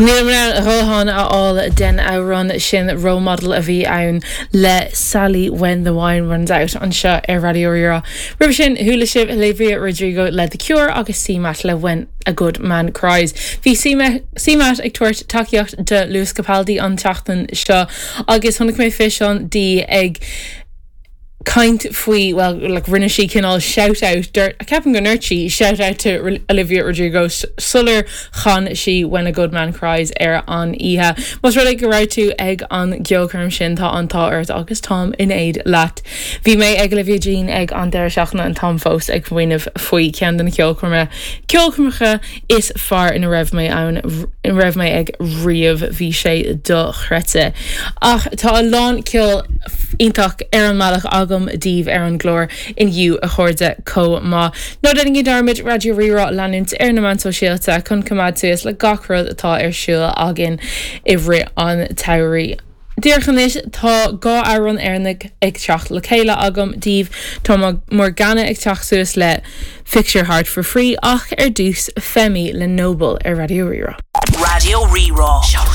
Nílim in ann a dhóthain a fháil den amhrán sin, Role Model a bhí ann le Sally When the Wine Runs Out anseo ar Raidió Rí-Rá. Roimhe sin, chuala sibh Olivia Rodrigo le The Cure agus CMAT le When a Good Man Cries. Bhí CMAT ag tabhairt tacaíocht do Lewis Capaldi an tseachtain seo agus chonaic mé físeán di ag caint faoi, bhuel, like, rinne sí cineál shout out, dúirt, ceapaim go ndúirt sí shout out to Olivia Rodrigo sular chan sí When a Good Man Cries ar an oíche. Más rud é go raibh tú ag an gceolchoirm sin, tá an t-ádh ort agus táim in éad leat. Bhí mé ag Olivia Jean ag an deireadh seachtaine and táim fós ag smaoineamh faoi ceann de na ceolchoirme, ceolchoirmeacha is fearr ina raibh mé ann, ina raibh mé ag riamh, bhí sé dochreidte. Ach tá a lán ceol iontach ar an mbealach agam daoibh ar an gclár inniu a chairde chomh maith. Ná déanaigí dearmad Raidió Rí-Rá a leanúint ar na meáin sóisialta chun coimeád suas le gach rud atá ar siúl againn i rith an tsamhraidh. Díreach anois tá 2 amhrán Éireannach ag teacht le chéile agam daoibh. Tá Morgana ag teacht suas le Fix Your Heart For Free ach ar dtús Femi le Noble ar Raidió Rí-Rá. Raidió Rí-Rá.